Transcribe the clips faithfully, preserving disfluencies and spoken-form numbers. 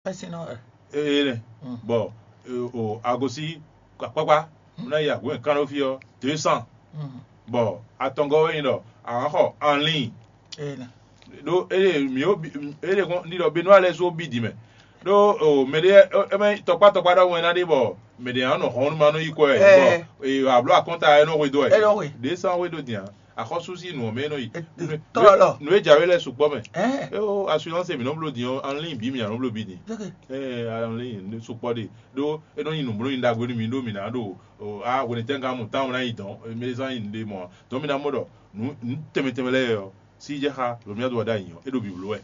Ɛsìn nɔ ɛ. Ee nɛ. Bɔ o agosi akpakpa ná yi agun kan ɖo fí ɔ́ deux cents. Bɔ atɔngɔ́ wɛ nyí ɖɔ a nǎ xɔ en ligne. Ee nɛ. Ɖó ée mǐ ó bi ée ɖe kɔn ɖiɖɔ Benua lɛ́ɛ su ó bí din mɛ. Ɖó o mɛ ɖé ɛ mɛ tɔkpá tɔkpá ɖɔhun wɛ ná ɖe bɔ mɛ ɖě ná nɔ hɔn nú ma nɔ yi kɔ ɛ. Ɛ. Bɔ e abló akɔnta ɛ nɔ hwe dó ɛ. Ɛ nɔ hwe. Ɖě sán hwe ɖó din a. Axɔ́sú sín nǔ ɔ́ mɛ nɔ yi. Tɔ́lɔ. Nǔ e jǎwe lɛ́ɛ sukpɔ́ mɛ. Ɛ. É ó assurance mǐ nɔ bló din ɔ́, en ligne bǐ mǐ ná nɔ bló bǐ din. Ɛ en ligne sukpɔ́ ɖe. Ɖó é nɔ nyi nǔblónyi ɖagbe nú mǐ ɖó mǐ ná ɖo a hwenɛ́tɛ́ngán mɔ táwọn ná yi dɔn mɛ zán nyi nǔɖé mɔ ǎ. Dɔn mǐ ná mɔ ɖɔ nǔ nǔ tɛnmɛ tɛnmɛ lɛ́ɛ ɔ́ sí jɛ xá lomia do wa ɖ'ayǐ ɔ́, é ɖo bǐbló wɛ.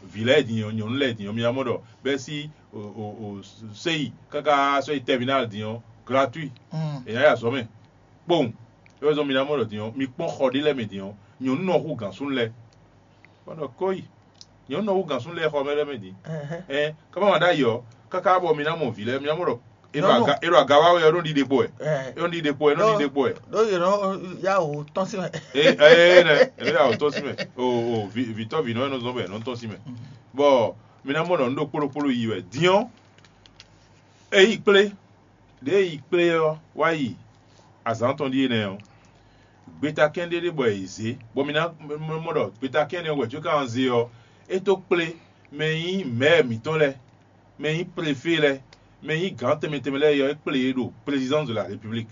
Vǐ lɛ́ɛ din ɔ́, nyɔ̌nu lɛ́ɛ din ɔ́, mía mɔ ɖɔ bɛ́ sí o o o séyi káká sɔ́ yi tɛvínál din ɔ́, gratuit. È nǎ yi azɔ̌ mɛ kpowun. É wɛ zɔ́n mi ná mɔ ɖɔ din ɔ́, mi kpɔ́n xɔ ɖé lɛ́ɛ mɛ din ɔ́, nyɔ̌nu nɔ hú gǎn súnnu lɛ́ɛ. Bɔ ɖɔ kóyi, nyɔ̌nu nɔ hú gǎn súnnu lɛ́ɛ xɔ mɛ lɛ́ɛ mɛ din. Ɛn ká má ma ɖ'ayǐ ɔ́, káká bɔ mi ná mɔ vǐ lɛ́ɛ, mi ná mɔ ɖɔ é ɖo aga é ɖo aga wá wɛ ɔ́, é nɔ ɖiɖe kpo wɛ. É nɔ ɖiɖe kpo wɛ, é nɔ ɖiɖe kpo wɛ. Ɖó yě nɔ yá wò tɔ́n sín mɛ. Ee ee nɛ, é nɔ yá wò tɔ́n sín mɛ. O o vǐ vǐtɔ́ vǐnɔ e nɔ zɔn bɔ è nɔ tɔ́n sín mɛ. Bɔ mi ná mɔ ɖɔ nǔ ɖokpó ɖokpó ɖo yi wɛ. Din ɔ́, é yi kplé. Ɖěe yi kplé ɔ́ wá yi azǎn tɔn ɖíe nɛ́ ɔ́, gbetakɛ́n ɖé ɖé bɔ è zě, bɔ mi ná mɔ ɖɔ gbetakɛ́n nɛ́ wɛ có ka zé ɔ́, é tó kplé mɛ e nyí mɛ̌ mǐtɔn lɛ́ɛ, mɛ e nyí prefé lɛ́ɛ, mɛ e nyí gǎn tɛnmɛ tɛnmɛ lɛ́ɛ é ɔ́, é kplé yě ɖo présidence de la république,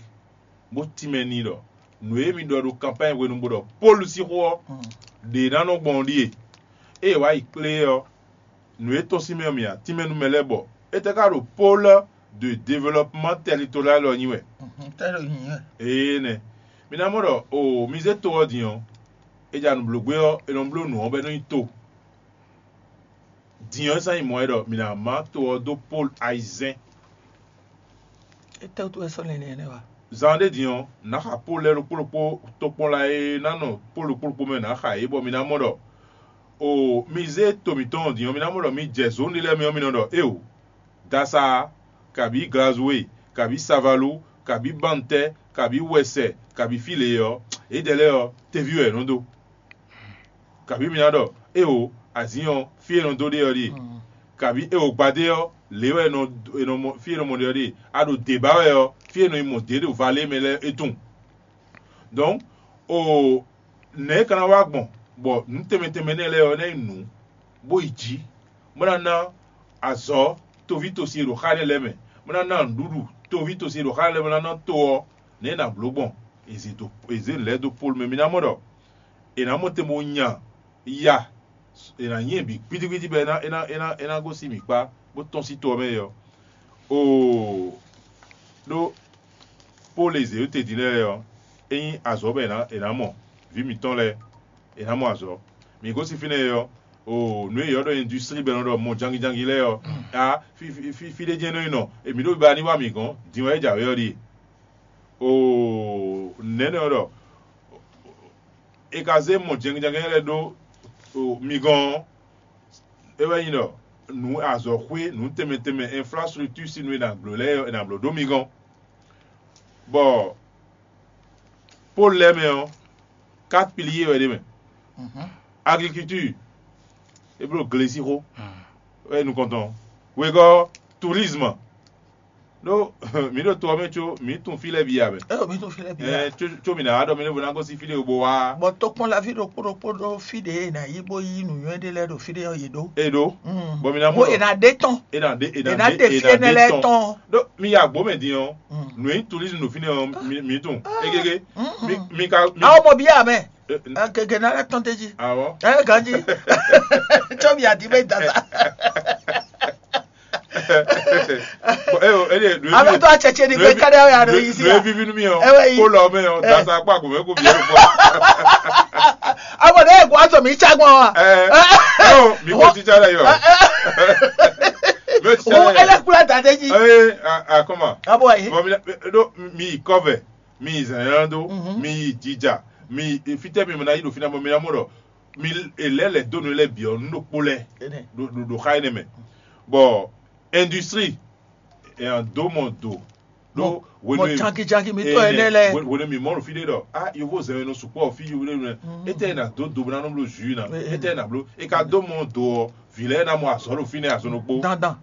bó tínmɛ n'i ɖɔ nǔ e mi ɖɔ ɖo kanpány hwenu bó ɖɔ Pɔ́lu sín xó ɔ́, ɖě ná nɔ gbɔn ɔ́ ɖíe. Ée è wǎ yi kplé ɔ́, nǔ e tɔ́n sín mɛ ɔ́ mì a tínmɛ nú mɛ lɛ́ɛ bɔ étɛ́ ka ɖo pôle de développement territorial ɔ́ nyi wɛ? Tɛ́ ɖo nyi wɛ. Ee nɛ. Mi ná mɔ ɖɔ o mi zé to ɔ́ din ɔ́, è ja nǔblógbé ɔ́, è nɔ bló nǔ ɔ́ bɔ é nɔ nyí to. Din ɔ́, é sán nyí mɔ̌ wɛ ɖɔ mǐ ná má to ɔ́ dó pôle ayizɛ́n. Étɛ́wútu wɛ sɔ́ lɛn nɛnɛ wa? Zan ɖé din ɔ́, nǎ xa pó lɛ́ɛ ɖokpó ɖokpó tokpɔnla e ná nɔ pó ɖokpó ɖokpó mɛ nǎ xa yě bɔ mi ná mɔ ɖɔ o mi zé to mǐtɔn ɔ́ din ɔ́, mi ná mɔ ɖɔ mi jɛ zǒn ɖé lɛ́ɛ mɛ ɔ́, mi nɔ ɖɔ éeǒ, Dasaa, kabǐ Glazue, kabǐ Savalu, kabǐ Bantɛ, kabǐ Wɛsɛ, kabǐ fí lě ɔ́, yědɛɛ lɛ́ɛ ɔ́, teví wɛ yě nɔ dó. Kabǐ mi ná ɖɔ éeǒ, azǐn ɔ́, fí e è nɔ dó ɖe ɔ́ ɖíe, kabǐ éeǒ gbadé ɔ́, lě wɛ è nɔ è nɔ mɔ fí e è nɔ mɔ ɖe ɔ́ ɖíe, a ɖo dě ba wɛ ɔ́, fí e è nɔ yi mɔ dě ɖo valé mɛ lɛ́ɛ é tunwun. Dɔ̌n, o nɛ̌ é ka ná wá gbɔn bɔ nǔ tɛnmɛ tɛnmɛ nɛ́ lɛ́ɛ ɔ́ ná nyí nǔ, bó yi jǐ, bó ná ná azɔ̌ toví tosi e ɖo xá énɛ́ lɛ́ɛ mɛ, bó ná ná nǔɖuɖu toví tosi e ɖo xá énɛ́ lɛ́ɛ mɛ ná ná to ɔ́, nɛ̌ è nǎ bló gbɔn? È zě dó è zě nǔ lɛ́ɛ dó Pɔ́lu mɛ. Mi ná mɔ ɖɔ è nǎ mɔ te bo nya ya è nǎ nyi ɛ bǐ gbídígbídí bɔ é ná é ná é ná é ná gosín mǐ kpá bó tɔ́n sín to ɔ́ mɛ é ɔ́. Oo, ɖó Pɔ́lu e zě ɖó te din lɛ́ɛ ɔ́, é nyí azɔ̌ bɔ è nǎ è nǎ mɔ vǐ mǐtɔn lɛ́ɛ, è nǎ mɔ azɔ̌. Mǐ gosín fínɛ́ é ɔ́, oo, nǔ e è ylɔ́ ɖɔ industrie bɔ è nɔ ɖɔ mɔ jangijangi lɛ́ɛ ɔ́, a fí fí fí fí ɖé jɛ́n nɔ nyi nɔ, è mǐ ɖo ba ní wa mǐ gɔ́n, din wɛ é jǎwe ɔ́ ɖíe. Oo, nɛ̌ nɔ ɖɔ è ka zé mɔ jɛngjɛngjɛn lɛ́ɛ ɖó mi gɔ́n ɔ́, é wɛ nyí ɖɔ nǔ azɔ̌xwé nǔ tɛnmɛ tɛnmɛ infrastructure sín nǔ e è nǎ bló lɛ́ɛ è nǎ bló ɖó mi gɔ́n. Bɔ Pɔ́lu lɛ́ɛ mɛ ɔ́, quatre piliers wɛ ɖ'é mɛ. Agriculture, é bló glesixo, wɛ nukɔntɔn. Wegɔ́, tourisme. Ɖó mǐ ɖo to ɔ́ mɛ có mǐ tunwun fí lɛ́ɛ bǐ ǎ mɛ. Ɛ mi tún fí lɛ́ɛ bǐ ǎ. Ɛ có có mǐ ná wá ɖɔ mí ní vo ná gosín fí ɖé bó wá. Bɔ tokpɔnlaví ɖokpó ɖokpó ɖó fí ɖě e è nǎ yí bó yí nǔnywɛ́ ɖé lɛ́ɛ ɖo fí ɖé ɔ́ yě ɖó. È ɖó. Bɔ mi ná mɔ Bó è ɖɔ nǎ ɖe tɔn. È nǎ ɖe è È nǎ nǎ ɖe ɖe fí è nǎ énɛ́ ɖe lɛ́ɛ tɔn. Tɔn. Ɖó mi yi agbǒ mɛ din ɔ́, nǔ e nyí tourisme ɖo fínɛ́ ɔ́ mi mi tunwun. Égégé. Mi mi ka mi. Awo mɔ bíyà mɛ. Ɛ, ɛ, Gègé ná lɛ́ tɔn tɛ́ jí. Awɔ. Ɛ ganjí. Tsɔ mi àdí bɛ dàda. Bɔn e o e de nu Abe to atsɛtsɛ ni gbɛ kari awo ya ɖo yi si nu ya. Evivi nu mi o. Ewe yi. Ko lɔ mɛ o. Dasa kpa ko mɛ ko bi o. Abo ne egu ato mi tsa gbɔn wa. Ɛ ɛ o mi ko titsa ɖe yɔ. Mi o titsa Wo ɖe yɔ. Ele kula da de ji. Ɛ a a kɔma. Abo yi. Bɔn mi na do mi yi kɔvɛ, mi yi zɛnɛna do, mi yi jija, mi yi fitɛ mi na yi do fina bɔ mi na mɔ dɔ mi elɛ lɛ do nu lɛ biɔ nu ɖokpo lɛ Ene. Do do do xa ene mɛ. Bɔ industrie e an do mɔ do. Mɔ- Do mɔ jankijanki mitɔ ene lɛ. Wenu mi mɔ no fi ɖe dɔ a yovo zɛn wenu sukpɔ fi yovo ɖe nu. Ete na do do na nɔ blo ju na. Ete na blo e ka do mɔ do ɔ vi lɛ na mɔ azɔ ɖo fi nɛ azɔ ɖokpo. Dandan.